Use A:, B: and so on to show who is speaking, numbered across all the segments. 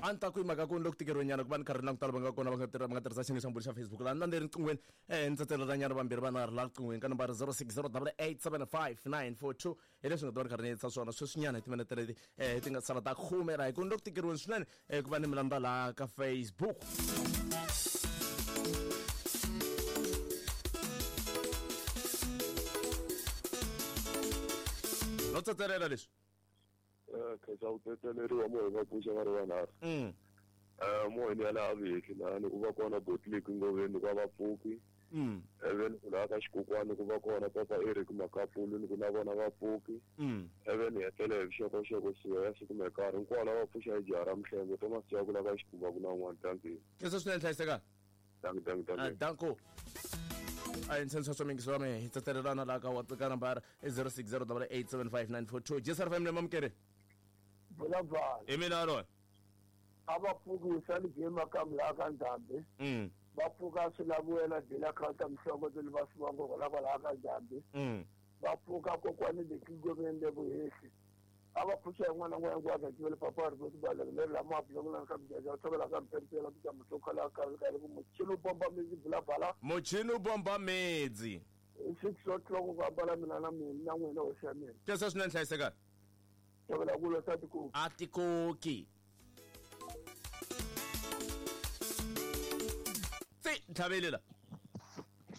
A: A ni ta ku hi mhaka ku ni le ku tikeriwenyana ku va ni karhi ni languta lava nga kona va nga tirha va nga tirhisa xiyenge xa mbuli xa Facebook laha ni landze riqinghweni ni tsetselelanyana vambirhi vanharhu laha riqinghweni ka nambara 0608875942 hi leswi nga ta va ni karhi ni yetisa swona sweswinyana hi timinete leti ti nga sala ta khume ra hi ku ni le ku tikeriweni swinene ku va ni mi landza laha ka Facebook. No tsetselela leswi.
B: Khensa ku tsetseleriwa moya va pfuxa va ri vanharhu. Moyeni ya laha Vehli lahani ku va kona Botliki Ngoveni ku va vapfuki. Even ku laha ka Xikokwani ku va kona Papa Eric Makapulu ni ku na vona vapfuki. Even hi hetelela hi vuxokoxoko siya ya siku na nkarhi hinkwavo lava pfuxa hi jaha ra Mhlengo Thomas Jaku la ka Xikhumba ku na un'wana. Dankie.
A: Khensa swinene hlayisekani.
B: Dankie, dankie, dankie.
A: Danko. A hi ntshenso swa mingiso wa mehe hi tsetselelana laha ka ka nambara i 0608875942 jesar fm lemamukeri.
C: Vulavula.
A: Hi mina loyi.
C: A va pfuki wisani game ka mlaha ka Ndhambi. Va pfuka swi lavuwela dela counter mhlongo tele va swi vango la kwalaha ka Ndhambi. Va pfuka kokwani le Kingomeni le Vuhehli. A va pfuxa hi n'wana n'wana hinkwayo ka tivele papa ri voti ba leri leri lama bulongo la ka mjaja tshovela ka mpempela ku ta mutokhala ka ka ku muchini u bomba midzi bulabala.
A: Muchini u bomba midzi.
C: 6 o'clock ku ambala mina na mina na n'wina hosi ya mina.
A: Kesa swinene hlayisekani.
C: Tshovela ku lo sa tikoki.
A: A tikoki. Tsi ntlhavelela.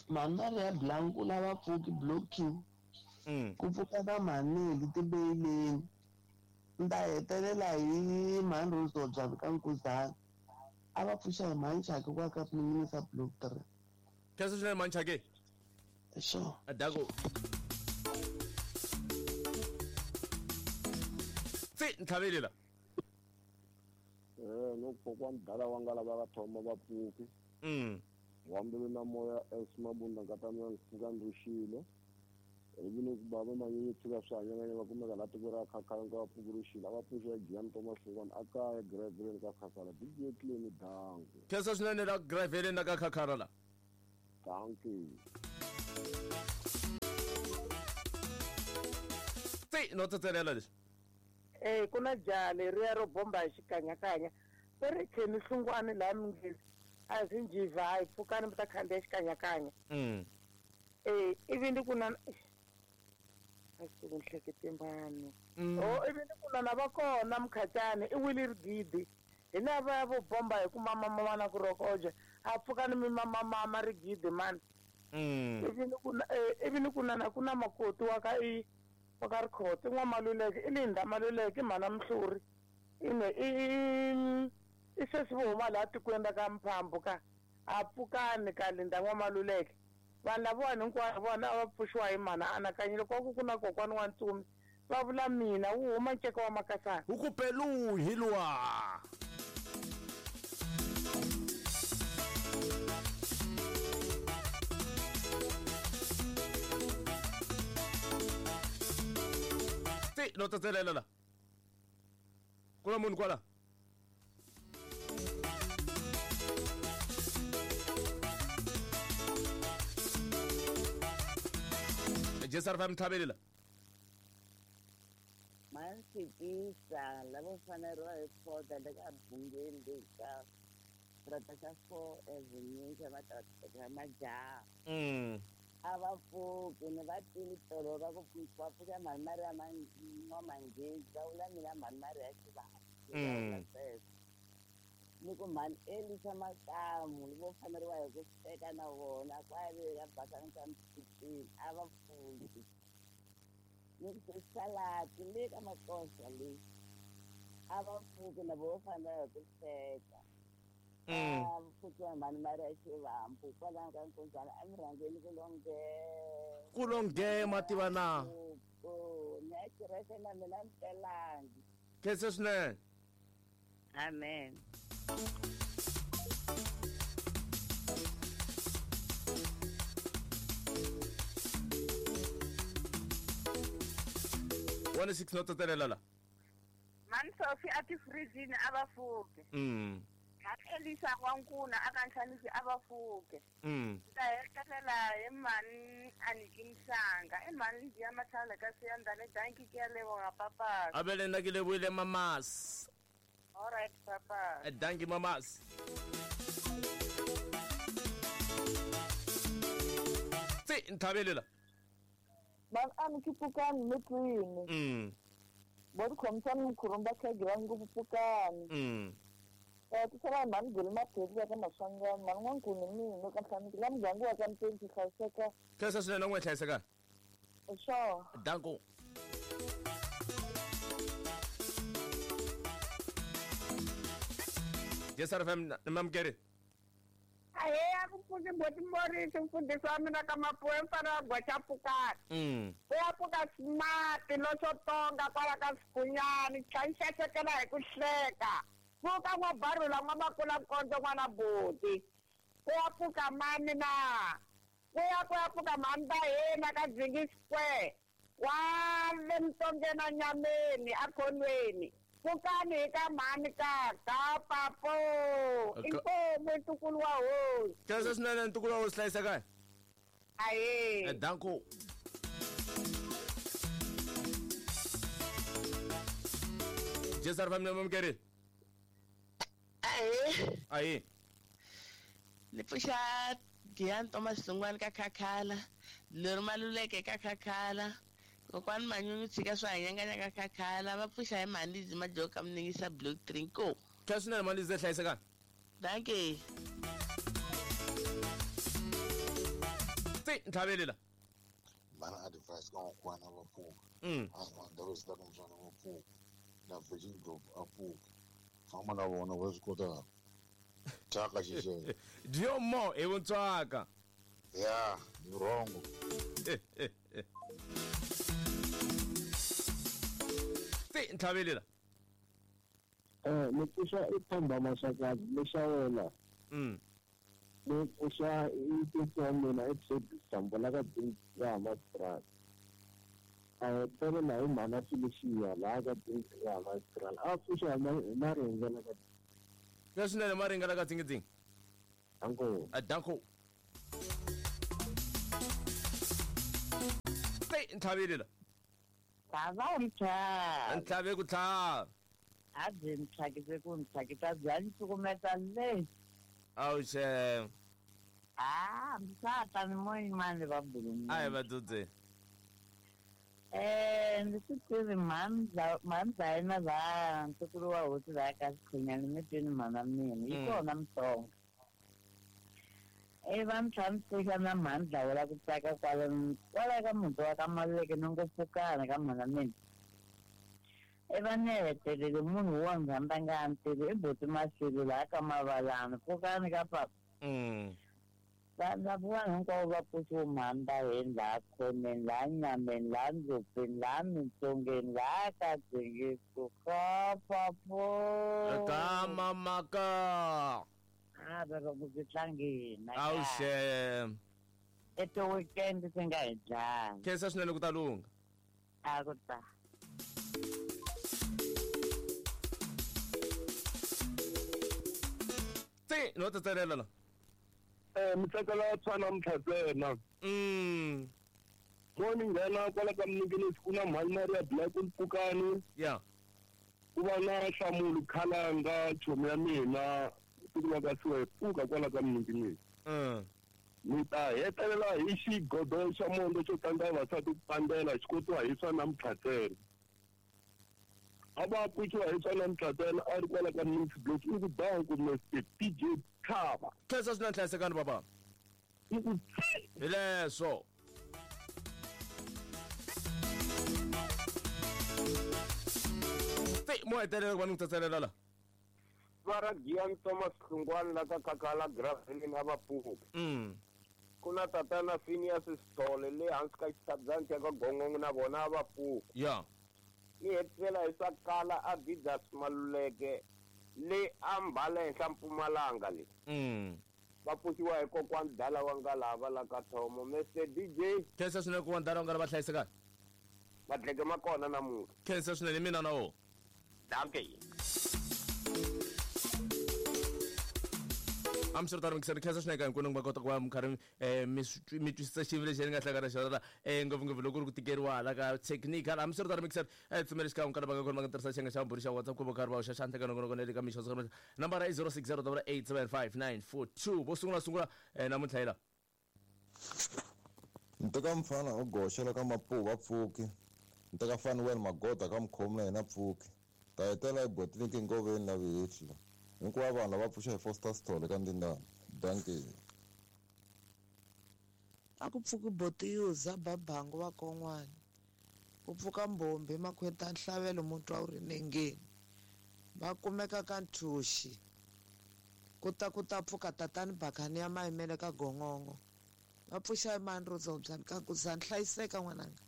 D: Mhani ya Blanco lava pfuki block 2. Ku pfuka na mhaneli tibeyileni. Nta hetelela hi mhani Rose ka Nkuzana. A va pfuxa hi mhani Chake kwa ka minisa block 3.
A: Kesa swinene mhani Chake.
D: Sure.
A: Adako. Tsi ntlhavelela.
B: No kokwani dala wa nga lava va thoma va pfuki. Wambele na moya S Mabunda nkata mina ndzi pfuka ndzi ruxile. Ivi ni ku bava manyunyu tshika swi hanyanganya va kumeka laha tiko ra Khakhala nga va pfuki ruxile. A va pfuxa Giyani Thomas Hlongwane a kaya Graveleni ka Khakhala. DJ Clean danko.
A: Khensa swinene la Graveleni la ka Khakhala la.
B: Dankie.
A: Tsi no tsetselela leswi.
E: Ku na jaha leriya ro bomba hi xikanyakanya. Va ri kheni Hlungwane laha Mingezi. A swi njiva hayi pfukani mi ta khandziya xikanyakanya. Ivi ni ku na a swi ku nhlekete mani. Oh, ivi ni ku na na va kona Mkhatsani i wile rigidi. Hi lava vo bomba hi ku mama mama na ku rokoja. A pfukani mi mama mama rigidi mani. Ivi ni ku na ivi ni ku na ku na makoti wa ka i wa ka Rikhotso n'wamaluleke i Linda Maluleke mhana Mhluri. Ine i sesi vo huma laha tikweni ra ka Mphambu ka a pfukani ka Linda n'wamaluleke. Vanhu lavawani hinkwavo vona a va pfuxiwa hi mhana anakanyile kwa ku ku na kokwani wa ntsumi va vula mina wu huma nceka wa makasana.
A: Wu ku pelu hi luwa. Ti no tsetselela la. Ku na munhu kwala. Jesar fam thabelela.
F: Mansikisa lavo faneriwa hi foda le ka bungeni leyi ka strata xa 4 Avenue xa xa majaha. A va pfuki ni va tini tolo va ku va pfuka mhani Maria N'wamanghezi va vula mina mhani Maria Xivandla. Ni ku mhani Elisa Makamu vo faneriwa hi ku teka na vona kwale ka basani ka Mphikini a va pfuki. Ni ku salati le ka makosa leyi a va pfuki na vo fanela hi ku teka. A pfukiwa mhani Maria Xivambu kwalaho ka Nkunzana a mi rhangeni ku longe.
A: Ku longe mativa na.
F: Ni ya kereke na mina ni telangi.
A: Khensa swinene.
F: Amen.
A: One six no tsetselela la.
G: Mani Sophie a tifrijini a va pfuki. Elisa N'wankuna a ka Nhlanisi a va pfuki. Ta hetelela hi mhani Aniki Mhlanga. I mhani Lidia Matlhale ka Siyandhani. Dankie ke a leboga papa.
A: A vele nna ke lebohile mamas.
G: All right.
E: papa.
A: Dankie mamas. Tse nthabelela.
H: Ba a ke pukani metwini. Bo di khomisa mkhurumba khagira ngopfu pukani. Tisala mani gulu maphephi ya ka Maswangani mani n'wankuni mina ka ntlhanu la muganga wa ka Mpenzi hlayiseka.
A: Khensa swinene n'we hlayiseka.
H: Sure.
A: Danko. Yes FM namamkeri.
E: Ahe a ku pfuki boti Morris mfundhisi wa mina ka Mapuwe mfana wa gwacha pukani. U ya pfuka smart loxo tonga kwala ka Sikunyani tlhanxexekela hi ku hleka. Pfuka n'wa barula n'wa makula nkondzo n'wana buti. Ku ya pfuka mani na. Ku ya pfuka mani ta hina ka Dzingi Square. Wa le Mtongeni nyameni akhonweni. Pfukani hi ka mhani ka papo. Inkomu ntukulu wa hosi.
A: Khensa swinene ntukulu wa hosi hlayiseka.
E: Ahe.
A: Danko. Jesar family mamkeri.
D: Ahe.
A: Ahe.
D: Ni pfuxa Giyani Thomas Hlungwani ka Khakhala, Leri Maluleke ka Khakhala, kokwani Manyunyu tshika swa hanyanganya ka Khakhala, va pfuxa hi Malizi Majoka Mningisa Block 3 ko.
A: Khensa swinene Malizi hlayiseka.
D: Dankie.
A: Tse nthabelela.
I: Mana advice ka n'wana va pfuka. A ndhawu ta mtswana va pfuka. Na Virgin Group a pfuka. Famba na vona va swi kota. Thyaka xixelo.
A: Dio mo hi vuntswaka.
I: Ya, ni wrong.
A: Tse nthabelela.
J: Ni pfuxa i Themba Mashakazi lexawela. Ni pfuxa i tisi wa mina i Teddy Sambola ka ya Hammanskraal. A hetelela hi mhana Felicia laha ka ya Hammanskraal. A pfuxa hi Maringela ka
A: Khensa swinene Maringela ka Dzingi.
J: Danko.
A: Danko. Tse nthabelela.
F: Tlhava ntlhava.
A: Ntlhave ku tlhava.
F: A byi ntlhakise ku ntlhakisa bya ncukumeta le.
A: Awuxe.
F: Ah, msata ni moyimani va bulumi.
A: A hi va dzudze.
F: Ndzi swi tivi mhani yena laha ntukulu wa hosi laha ka Sikhunyani mi twini mhana mina yi kona Mtsonga. Va mi tlhamiseka na mhani dlawela ku tsaka kwala ka muti wa ka Maluleke ni ngo pfukana ka mhana mina. Va ni hetelele munhu wo ndzi nga ni tivi i buti Masilo laha ka Mavalani pfukani ka papa. Vanhu vanhu hinkwavo va pfuxiwe mhani va hina laha khoneni laha nyameni laha ndzopeni laha mintsongeni laha ka Dzingiso ka papo.
A: Ka mamaka.
F: A va va ku byi tlangeni.
A: Awuxe.
F: Eto weekend swi nga hi dlaya.
A: Khensa swinene ku ta lungha.
F: A ku ta.
A: Tse no tsetselela la.
B: Mi tsakela tshwana mtlhatsena. Mo ni nghena kwala ka Mninginisi ku na mhani Maria Black Mpfukani.
A: Yeah.
B: Ku va na Nhlamulo Khalanga chomi ya mina siku la ka siwe pfuka kwala ka Mninginisi. Ni ta hetelela hi xigodo xa mondo xo tlanga vavasati ku pandela xi kotiwa hi swa namuntlha. A va pfuxiwa hi swa namuntlha a ri kwala ka Mninginisi Block i ku banku Mr PJ Khava.
A: Khensa swinene hlayisekani baba.
B: I ku
A: hi leswo. Tse mo hetelela ku va ni ku tsetselela la.
C: Va ra Giyani Thomas Hlungwani la ka Khakhala Graveleni a va pfuki. Ku na tatana Phineas Sithole le hansi ka xitshabyani xa ka Gongongo na vona a va pfuki.
A: Yeah.
C: Ni hetisela hi swa kala Adidas Maluleke le a Mbala henhla Mpumalanga le. Va pfuxiwa hi kokwani Dala wa Ngalava la ka Thomo. Mr DJ.
A: Khensa swinene kokwani Dala wa Ngalava hlayisekani.
C: Madleke ma kona namuntlha.
A: Khensa swinene mina na wona.
C: Dankie.
A: Hambiswiritano mikisani khensa swinene ka hinkwenu va kota ku va mi karhi mi twisisa xiyimo lexi ni nga hlangana na xona ngopfungopfu loko ku ri ku tikeriwa hala ka technical. Hambiswiritano mikisani tsumela xikan'we ka lava nga kona va nga tirhisa xiyenge xa vumbirhi xa WhatsApp ku va karhi va hoxa xandla ka nongonoko na le ka mixo nambara i 0608875942. Vo sungula sungula namuntlha yila
K: Nteka mfana u goxela ka Mapuva va pfuki. Nteka fani wena magoda ka mukhomi na yena pfuki. Ta hetela ebotini ngoveni la vihehla. Hinkwavo vanhu lava pfuxa hi Foster Sithole ka Ndindana. Dankie.
D: A ku pfuki botiyuza babangu va kon'wana. Ku pfuka mbombi makhweta nhlavelo mutwa wu ri nengeni. Va kumeka ka nthuxi. Ku ta ku ta pfuka tatani bakani ya mayimele ka gongongo. Va pfuxa imani ro dzobya ka ku za hlayiseka n'wananga.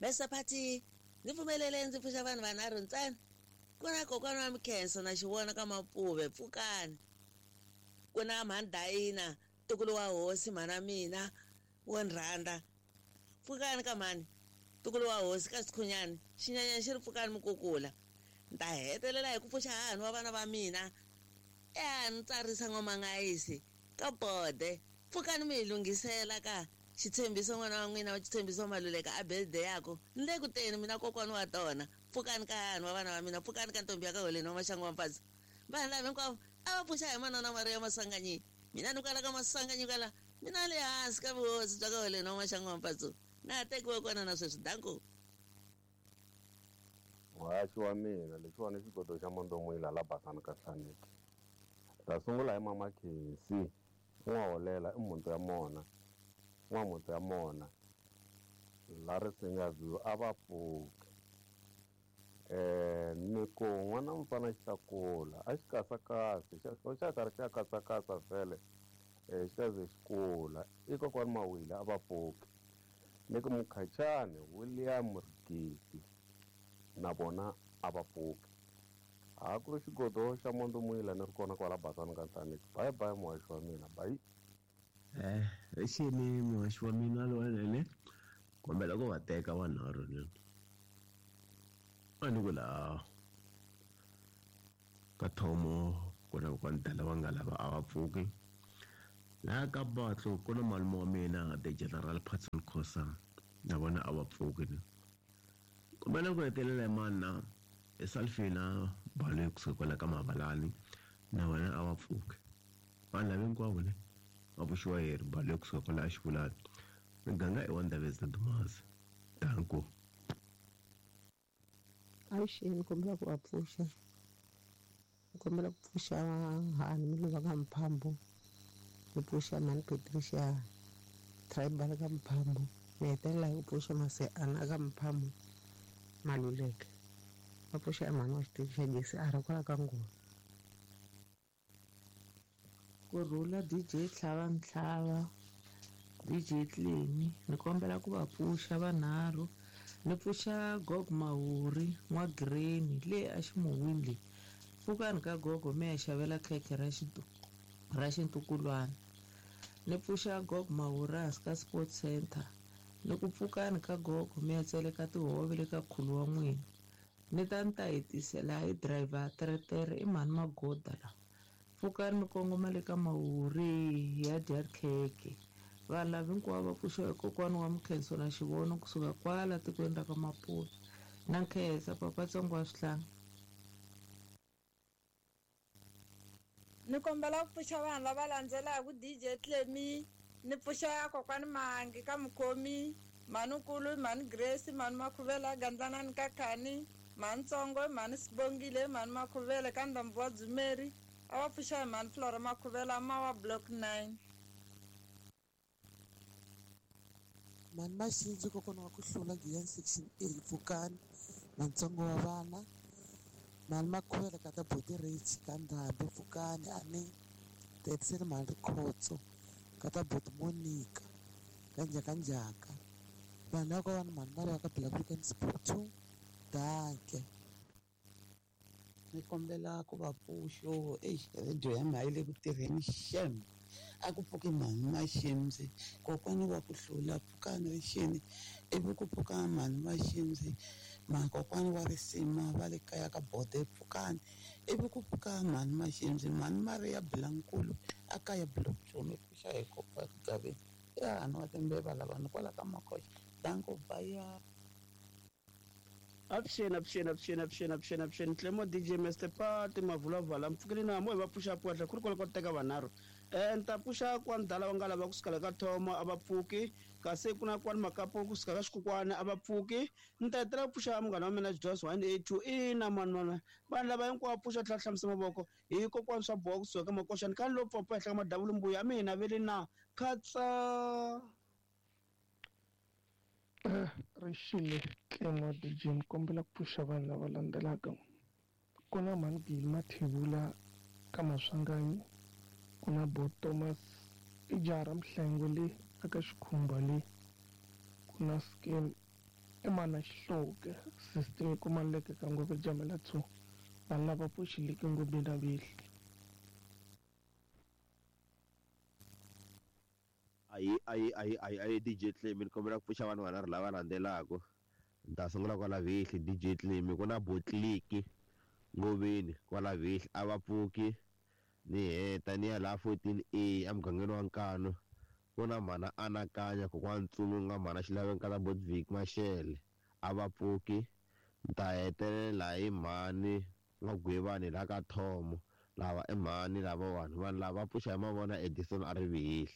F: Bese phathi ni pfumelele ndzi pfuxa vanhu vanharhu ntsena. Ku na kokwana wa Mkhenso na xivona ka Mapuve pfukani. Ku na mhani ntukulu wa hosi mhana mina wo nrhanda. Pfukani ka mhani ntukulu wa hosi ka Sikhunyani xinyanyana xi ri pfukani mukukula. Ni ta hetelela hi ku pfuxa hahani wa vana va mina ni tsarisa n'wamangayisi ka bode. Pfukani mi hi lunghisela ka xitshembiso n'wana wa n'wina wa xitshembiso Maluleka a birthday yako. Ni le ku teni mina kokwana wa tona. Pfukani ka hahani wa vana va mina, pfukani ka ntombi ya ka Holeni wa Maxangu wa Mpfadzi. Vanhu lava hinkwavo a va pfuxa hi manana Maria Maswanganyi. Mina ni kwala ka Maswanganyi kwala mina le hansi ka vuhosi bya ka Holeni wa Maxangu wa Mpfadzi. Na ha tekiwe kona na sweswi danko.
B: Muhaxi wa mina lexiwani i xigodo xa Mondomwila la basani ka Hlaneki. Ta sungula hi mama Khensi n'waholela i mhunti ya mona n'wamhunti ya mona la Risinga View a va pfuki. Ni ku n'wana mfana xi ta kula a xi kasakasi xa karhi xa kasakasa vhele xi ta ze xi kula i kokwani Mawile a va pfuki. Ni ku Mukhachani William Rigidi na vona a va pfuki. A ku ri xigodo xa Mondomwila ni ri kona kwala basani ka Hlaneki. Bye bye muhaxi wa mina, bye.
L: Exini muhaxi wa mina lowanene kombela ku va teka vanharhu ni a ni ku laha ka thomo ku na kokwani va nga lava a va pfuki. Laha ka Batlo ku na malume wa mina the General Patson Khosa na vona a va pfuki. Kombela ku hetelela hi mani na i Salfina Baloyi kusuka kwala ka Mavalani na vona a va pfuki. Vanhu lava hinkwavo ne va pfuxiwa hi ri Baloyi kusuka kwala Exivulani. Miganga i wa Ndabezitha Dumazi. Danko.
M: Avuxeni, kombela ku va pfuxa. Kombela ku pfuxa hani Miluva ka Mphambo. Ni pfuxa mhani Patricia Tribal ka Mphambo. Ni hetelela hi ku pfuxa Maseana ka Mphambo Maluleke. Va pfuxa mhani wa xitichi xa gezi a ri kwala ka Ngoma.
N: Kurhula DJ Tlhava Ntlhava, DJ Tlemi, ni kombela ku va pfuxa vanharhu. Ni pfuxa Gogo Mahuri n'wa Greni le a ximuwini le. Pfukani ka gogo mi ya xavela khekhe ra xintukulwana. Ni pfuxa Gogo Mahuri hansi ka Sports Center. Ni ku pfukani ka gogo mi ya tseleka tihove le ka khulu wa n'wina. Ni ta ni ta hetisela hi driver teretere i mhani Magoda la. Pfukani mi kongoma le ka Mahuri ya dya khekhe. Vanhu lava hinkwavo va pfuxiwa hi kokwana wa Mkhenso na Xivono kusuka kwala tikweni ra ka Mapuve. Na nkhensa papa Tsongo wa Swihlanga.
O: Ni kombela ku pfuxa vanhu lava landzelaka DJ Tlemi, ni pfuxa kokwani Mahangi ka Mukhomi, mhani Nkulu, mhani Grace, mhani Makhuvela, Gandlanani ka Khani, mhani Tsongo, mhani Sibongile, mhani Makhuvele ka Ndhambu wa Dzumeri, a va pfuxa hi mhani Flora Makhuvela ma wa Block 9.
P: Mhani Maxindzi kokwana wa ku hlula Giyani Section A pfukani Matsongo wa vana mhani Makhuvele ka ta Boti Rich ka Ndhambi pfukani a ni tetiseli mhani Rikhotso ka ta Boti Monica ka Njhakanjhaka. Vanhu lava ka vanhu mhani Mariwa ka Black Weekend Sport 2 danke.
D: Ni kombela ku va pfuxo radio ya mina yi le ku tirheni xem.
P: A ku pfuki mhani Maximzi, kokwani wa ku hlula, pfukani rixini. Ivi ku pfuka mhani Maximzi, makokwani wa risima va le kaya ka Bode, pfukani. Ivi ku pfuka mhani Maximzi, mhani Maria Bilankulu a kaya Block 2, mi pfuxa hi kokwa Gaveni. Ya hanu wa timbeva lava ni kwala ka Makhoxa. Danko baya.
Q: Avuxeni, avuxeni, avuxeni, avuxeni, avuxeni, avuxeni. Tlemo DJ Mr Pati Mavulavala. Mpfukile na mo hi va pfuxa kwahla ku ri kwala ka teka vanharhu. Ni ta pfuxa kwa ndala va nga lava kusuka le ka Thomo a va pfuki, kasi ku na kwani Makapo kusuka ka Xikukwana a va pfuki. Ni ta hetelela ku pfuxa munghana wa mina Joyce 182 ina mani mani. Vanhu lava hinkwavo pfuxa tlhela hlamusa mavoko hi kokwani swa boha kusuka ka Makoxani kani lo pfapfa henhla ka madavula mbuya mina vele na khatsa.
R: Rixile Tlemo DJ ni kombela ku pfuxa vanhu lava landzelaka. Ku na Mhani Gili Mathebula ka Maswanganyi, ku na Bo Thomas i jaha ra Mhlengwe le aka Xikhumba le, ku na Skim i mana Xihloke sister ku Maleke ka Ngove Jamela 2. Vanhu lava pfuxileke ngopfu na vihli.
S: Ayi ayi ayi ayi ayi DJ Clemi ni kombela ku pfuxa vanhu vanharhu lava landzelaka. Ni ta sungula kwala Vihli DJ Clemi ku na Botliki Ngoveni kwala Vihli a va pfuki ni heta ni ya laha 14A emugangeni wa Nkanu ku na mhana Anakanya kokwana Ntsumi nga mhana Xilaveni ka Botvik Mashele a va pfuki. Ni ta hetelela hi mhani N'wagwivani laha ka Thomo lava i mhani lavawani vanhu lava pfuxa hi mavona Edison a ri Vihli.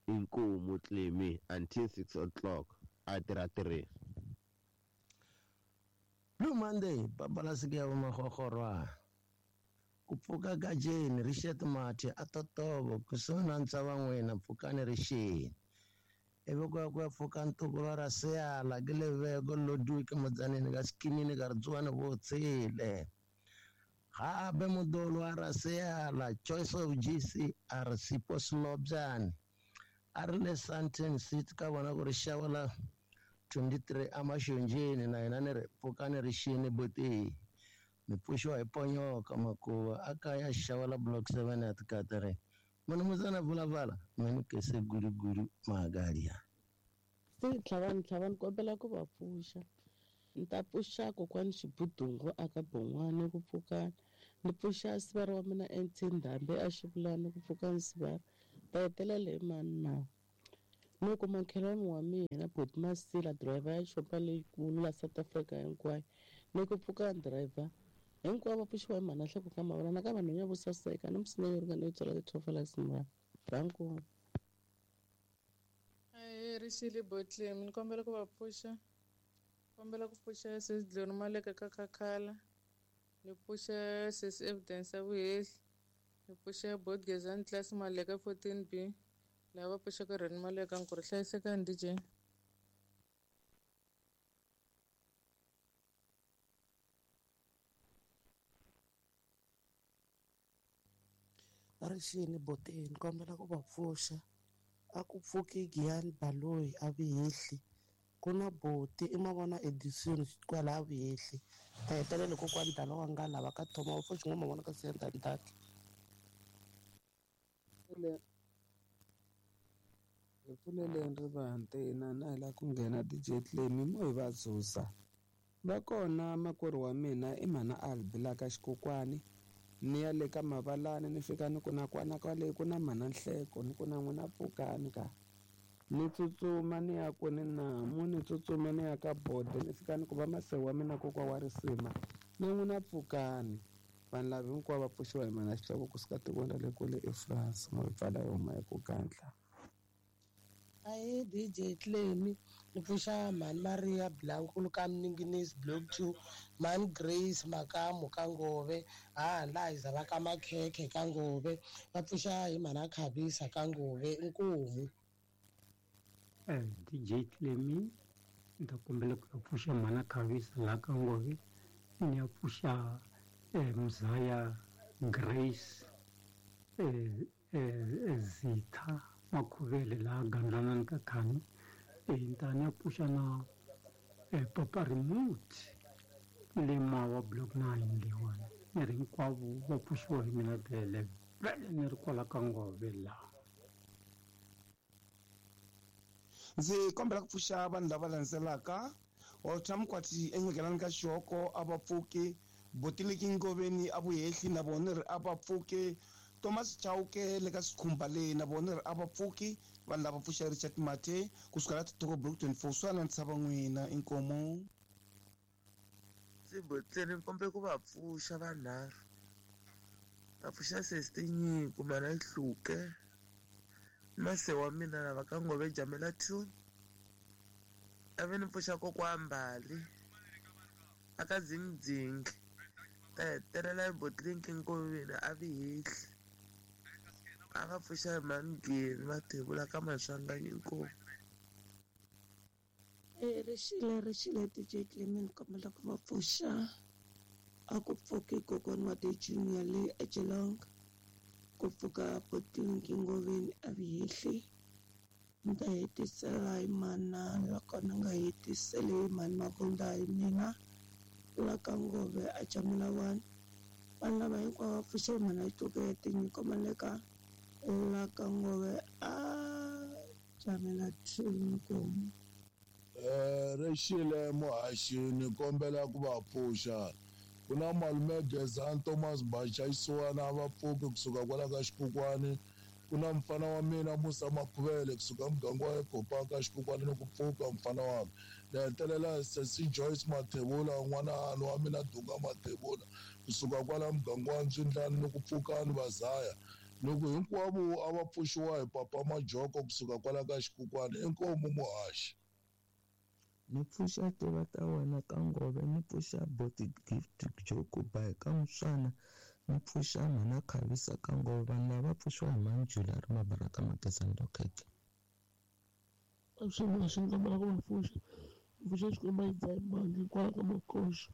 S: Inkomu Clemi until 6 o'clock a tirha 3.
T: Blue Monday babalasike ya vamahorhorwa. Ku pfuka ka Jane Richard Mathe a totovo kusuhi na ntsava n'wina pfukani rixini. Ivi ku ya ku ya pfuka ntukulu wa Raseyala ke leveko Ludwig Mudzaneni ka Xikinini ka Ritsuwani Vutshile. Gape modolo wa Raseyala Choice of GC a re Sipho Selobyane a ri le Sandton City ka vona ku ri xava la 23 amaxonjeni na yena ni ri pfukani rixini boti mi pfuxiwa hi ponyoka makuva a kaya xava la block 7 ya tikatare munhu vulavala mani kese guruguru magalia.
D: Se tlhavani tlhavani kombela ku va pfuxa. Ni ta pfuxa kokwani Xibudungu aka Bon'wana ku pfukani. Ni pfuxa sivara wa mina NT Ndhambi a Xivulani ku pfukani sivara. Ta hetelela hi mani na ni kuma nkhelani wa mina Boti Masila driver ya xopa leyikulu la South Africa hinkwayo ni ku pfuka driver hinkwavo va pfuxiwa hi mhana Nhloko ka mavona na ka vanhu vo saseka ni musina yo ringana yo tswala ti-tofalaks mara danko.
U: Ahee Rixile Botlemi ni kombela ku va pfuxa, kombela ku pfuxa sesi Dloni Maleka ka Khakhala, ni pfuxa sesi Evidence ya Vuhehli, ni pfuxa Bot Gezani Class Maleka 14B lava va pfuxaka Rheni Maleka nku ri hlayisekani DJ.
P: Rixini Boteni kombela ku va pfuxa. A ku pfuki Giyani Baloyi a Vihehli. Ku na Boti i mavona Edison kwala a Vihehli. Ta hetelela kokwani Dala wa nga lava ka Thoma va pfuxi n'wa mavona ka Siyanda Ndaki.
V: Hi pfuleleni rivanti na na hi lava ku nghena DJ Clemi mo hi va dzuza. Va kona makwerhu wa mina i mhana Albi la ka Xikokwani. Ni ya le ka Mavalani ni fika ni ku na kwana kwale ku na mhana Nhleko ni ku na n'wina pfukani ka. Ni tsutsuma ni ya kwini namu ni tsutsuma ni ya ka Bode ni fika ni ku va masewu wa mina kokwa wa risima na n'wina pfukani. Vanhu lava hinkwavo va pfuxiwa hi mhana Xihloko kusuka tikweni ra le kule eFrance mo hi pfala hi huma hi ku gandla.
P: Ahee DJ Clemi ni pfuxa mhani Maria Blankulu ka Mninginisi Block 2, mhani Grace Makamu ka Ngove, ha Liza va ka Makhekhe ka Ngove, va pfuxa hi mhana Khavisa ka Ngove inkomu.
W: DJ Clemi ni ta kombela ku ya pfuxa mhana Khavisa laha ka Ngove, ni ya pfuxa Mzaya Grace Zitha Makhuvele laha Gandlanani ka Khani, ni ta ni ya pfuxa na Papa Remote le Mawa Block 9 leyiwani ni ri hinkwavo va pfuxiwa hi mina vele vele ni ri kwala ka Ngove laha.
E: Ndzi kombela ku pfuxa vanhu lava landzelaka. Walter Mkwati enyekelani ka xihoko a va pfuki, Botiliki Ngoveni a vuhehli na vona ri a va pfuki, Thomas Chauke le ka Sikhumba le na vona ri a va pfuki. Vanhu lava pfuxa Richard Mathe kusuka la Titoko Block 24 swana ntshava n'wina inkomo.
G: Ndzi botleni ni ku va pfuxa vanharhu. Va pfuxa sesi Tinyiko mana Hluke. Mase wa mina lava ka Ngove Jamela 2. Ave ni pfuxa kokwa Mbali aka Dzingidzingi. Ta hetelela hi Botlinki Nkoveni a vi hehli. A va pfuxa hi Mangeni Mathebula ka Maswanganyi inkomu.
H: Rixile DJ Clement ni kombela ku va pfuxa. A ku pfuki kokwana wa The Junior le eGeelong. Ku pfuka Botlinki Ngoveni a vi hehli. Ni ta hetisela hi mana loko ni nga hetiseli hi mhani Mabunda hi mina la ka Ngove a Jamela 1. Vanhu lava hinkwavo va pfuxe hi mhana Hluke ya Tinyiko Maleka la ka Ngove a Jamela 2 inkomu.
X: Rixile muhaxi ni kombela ku va pfuxa. Ku na malume Gezani Thomas Bacha Xisiwana a va pfuki kusuka kwala ka Xikukwani. Ku na mfana wa mina Musa Makhuvele kusuka muganga wa Ekopa ka Xikukwani ni ku pfuka mfana wa mina. Ni hetelela sesi Joyce Mathebula n'wana wa mina Dunga Mathebula kusuka kwala muganga wa Ndzwindlani ni ku pfuka ni Vazaya. Loko hinkwavo a va pfuxiwa hi papa Majoko kusuka kwala ka Xikukwani inkomu muhaxi.
G: Ni pfuxa tiva ta wena ka Ngove, ni pfuxa Boti Gift Jokuba ka Muswana, ni pfuxa mhana Khavisa ka Ngove. Vanhu lava va pfuxiwa hi mhani Julia ri Mabaraka Magezani Lokeke.
Y: Avuxeni ni kombela ku va pfuxa. Ni pfuxa Xikwembu a yi dzahi mbangi kwala ka Makoxa.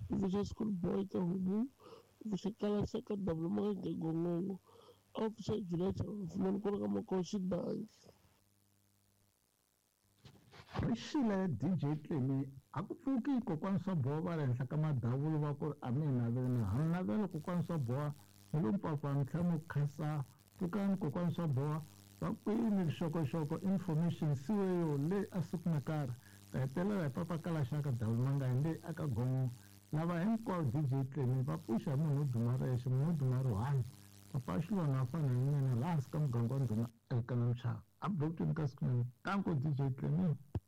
Y: Ni pfuxa School Boy ka Homu. Ni pfuxa Kalasa ka Dabula Makenge Gongongo. A va pfuxa Julia Chava Fumani kwala ka Makoxa Danki.
Z: Rixile DJ Clemi a ku pfuki kokwana swa boha va ri henhla ka madavulu va ku ri a mi hi naveli ha mi navela kokwana swa boha ni lo mpapa mi tlhela mi khasa pfukani kokwana swa boha va kwini vuxokoxoko information siweyo le a siku na karhi ta hetelela hi papa kalaxaka davulu mangayi le aka gongo lava hinkwavo DJ Clemi va pfuxa munhu wo duma rexe munhu wo duma rihanyo papa xilwana a fana ni mina laha hansi ka muganga wa ndhuma elkana mchava a blokini ka siku nene tanko DJ Clemi.